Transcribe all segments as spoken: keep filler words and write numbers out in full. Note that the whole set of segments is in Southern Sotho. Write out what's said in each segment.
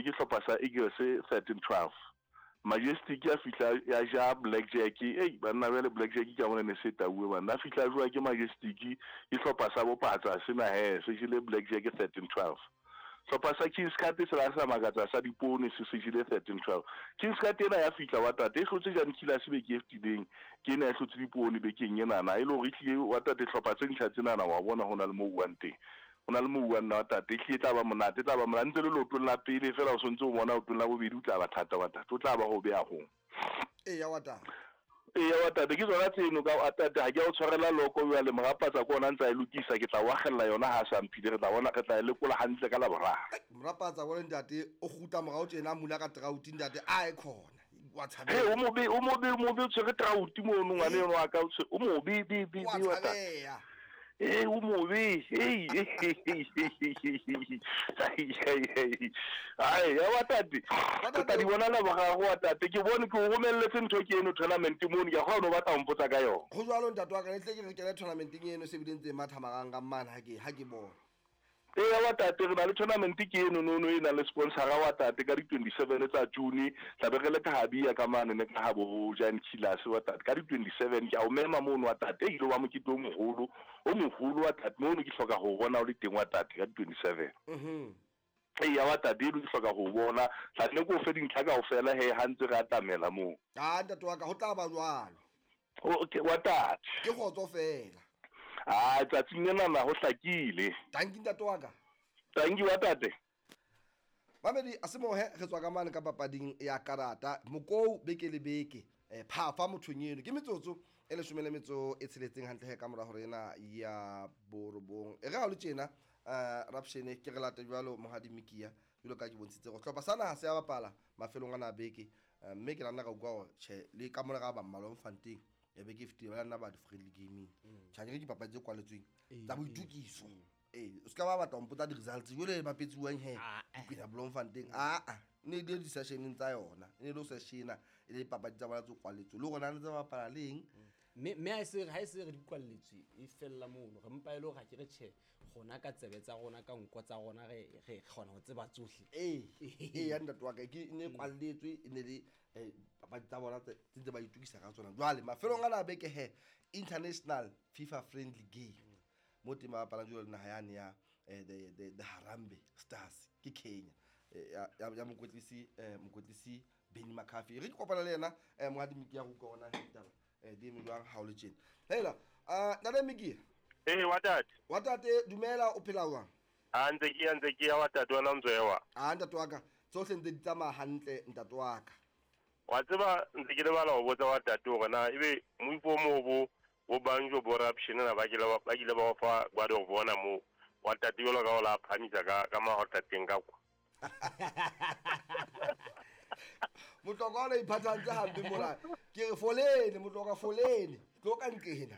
jeuwe ke hlopha sa Eagles thirteen twelve. Majestic ya fihla ya ja Blackjack. Ei banna bjale Blackjack ke a bona ne se tauwe banna. A fihla jowa ke Majestic ke hlopha sa bopatsa sena he se jele Blackjack thirteen twelve. Hlopha sa Kings Cup se la sa makatsa sa dipone se se jele thirteen twelve. Kings Cup ena ya fihla wa tate e hlotse Jan Killers beke e fetileng, ke ena e hlotse dipone bekeng enana e le hore e tlile wa tate hlopha tse ntjha tsenana wa bona ho na le mo buang teng. O na le mo buang nna wa tate e hlile e tla ba monate, e tla ba monate ntse le leotong la pele fela o sontse o bona leotong la bobedi o tla ba thata wa tate, o tla ba ho beha hong. Eya wa tate. Eya wa tate ke tsona tseno ka wa tate ha ke a o tshwarela loko jwale morapatsa ke ona ntse a e lokisa ke tla o akgella yona ha a sa mphile re tla bona re tla e lekola hantle ka Laboraro. Morapatsa wa ntate o kgutla morao tjena a mula ka trouti ntate a e khona. Wa tshabeha. He o mobe o mobe o mobe o tshwere trouti mono ngwane eno wa ka o mobe be be Wa be wa tate. tshabeha. Eh o mobe hey ai ya wa tate Wa re tla di bona Laboraro wa tate ke bone ke o romelletse ntho ke eno tournament mono ke a kgona ho batla ho mpotsa ka yona. Ho jwalo ntate wa ka ne tle ke re kene tournamenteng eno se bile ntse matha marang ka mane ha ke ha ke bona. Eya wa tate re na le tournament ke eno nono e nang le sponsora wa tate ka di twenty-seven tsa June tla be re le ka Habia ka mane ne ka ha bo Jan Killers wa tate ka di twenty-seven ke a o mema mono wa tate e ile wa mokete o moholo o moholo wa tate mono ke hloka ho bona o le teng wa tate ka di twenty-seven. Mhm. Eya wa tate eno ke hloka ho bona tla nne ke o fe dintlha kaofela he ha ntse re atamela moo. Ah ntate wa ka ho tla ba jwalo. Okay wa tate. Ke kgotso fela. Ah tsatsing lena na ho hlakile. Tanki ntate wa ka. Tanki wa tate. Mamedi a se mohe re tswa ka mane ka papading ya karata mokou beke le beke eh phafa mothong eno ke metsotso e leshome le metso e tsheletseng hantle he ka mora hore ena ya borobong e re ha le tjena eh rapshene ke re late jwalo Mohadi Mikia jwalo ka ke bontshitse go hlopha sana ha se ya bapala mafelong ana beke mme ke nna ka utlwa hore tjhe le ka mora ga ba mmalwa mfanteng ya beke e fetileng ba nna ba di friendly gaming tjha ke dipapadi tse kwaletsweng tsa boitukiso eh o ska ba batla ho mpotsa di-results jwale e bapetsuwang he Kwena Bloemfontein a a ne di di-sessioneng tsa yona e ne le ho sessiona e le dipapadi tsa bona tse kwaletswe le rona re tse bapala leng mme mme ha e se ha e se re di kwalletswe e fella mono re mpa e le hore ha ke re tjhe rona ka tsebe tsa rona ka nko tsa rona re re kgona ho tseba tsohle. Ee ee ya ntate wa ka ke ne kwalletswe e ne le papadi tsa bona tse ntse ba itukisa ka tsona jwale mafelong ana a beke he international FIFA friendly game mo teng ba bapalang jwalo le naha yane ya the the the Harambee Stars ke Kenya ya ya mokwetlisi mokwetlisi Benny McCarthy re ke kopana le yena Mohadi Mikia go utlwa ona ditaba eh di eme jwang ha o le tjena hela ah ntate Mikia. Eh wa tate. Wa tate dumela o phela jwang? A ntse ke ntse ke ya wa tate wena ntse wa. Ah ntate wa ka tsohle ntse di tsamaya hantle ntate wa ka. Wa tseba ntse ke lebala ho botsa wa tate hore na ebe moifo mo bo bo banjo bo raption na ba ke ba ba ile ba fa ba do bona mo wa tate jwalo ka o la phamisa ka ka mahotateng ka kwa. Motlokwa o iphathantse hampe mona ke re folene motlokwa folene tlo ka nqena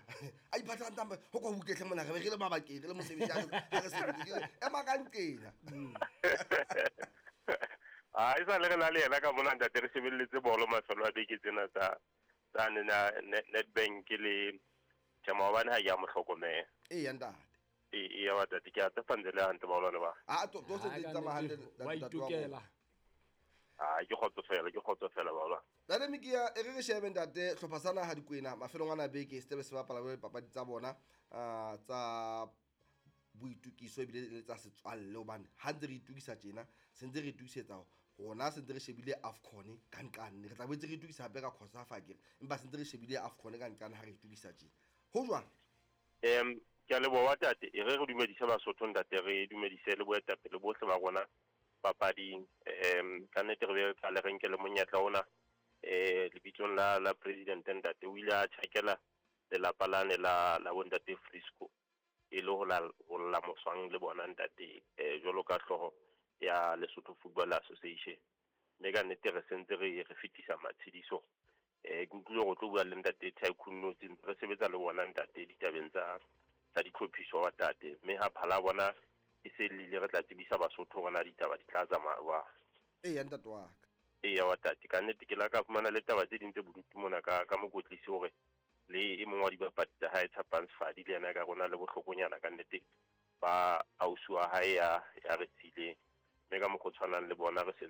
a iphathantse hampe ho kwa bukehle mona re be re le mabakeng re le mosebetsi ha re sebetse ke re ema ka nqena. Ah e sa le re na le yena ka mona ntate re shebelletse bolo mafelo a beke tsena tsa tsa nena Nedbank le tja maobane ha ke a mo hlokomela. Eya ntate. E ya wa tate ke a tshepa ntse le hantle baholwane ba. Ah to to se di tsamaya hantle wa itokela. Ah ke kgotsofela ke kgotsofela baholwane. Ntate Mikia e re re shebe ntate hlopha sa naha Dikwena mafelong ana beke se tebe se bapala le papadi tsa bona ah tsa boitukiso ebile le tsa setswalle hobane ha ntse re itukisa tjena se ntse re itukisetsa rona se ntse re shebile AFCON ka nqane re tla boetse re itukisa hape ka COSAFA akere empa se ntse re shebile AFCON ka nqane ha re itukisa tjena ho jwang? Em ke a leboha tate e re re dumedise Basotho ntate re dumedise le boetapele bohle ba rona papading em ka nnete re be re qale re nke le monyetla ona eh lebitsong la la president ntate o ile a tjhakela lelapa lane la la bontate Frisco e le ho la ho la moswang le bona ntate eh jwalo ka hlooho ya Lesotho Football Association mme ka nnete re sentse re re fetisa matshediso eh ke utlwile go tlo bua le ntate Tycoon Notsi re sebetsa le bona ntate ditabeng tsa tsa ditlhophiso wa tate mme ha phala bona e se lile re tla tsebisa Basotho hore na ditaba di tla tsamaya jwang. Eya ntate wa ka. Eya wa tate ka nnete ke la ka fumana le taba tse ding tse bodutu mona ka ka mokotlisi hore le e mong wa dibapadi tsa hae Tshapang Sefadi le yena ka rona le bohlokonyana ka nnete ba ausi wa hae ya ya re tshileng mme ka mokgwa o tshwanang le bona re se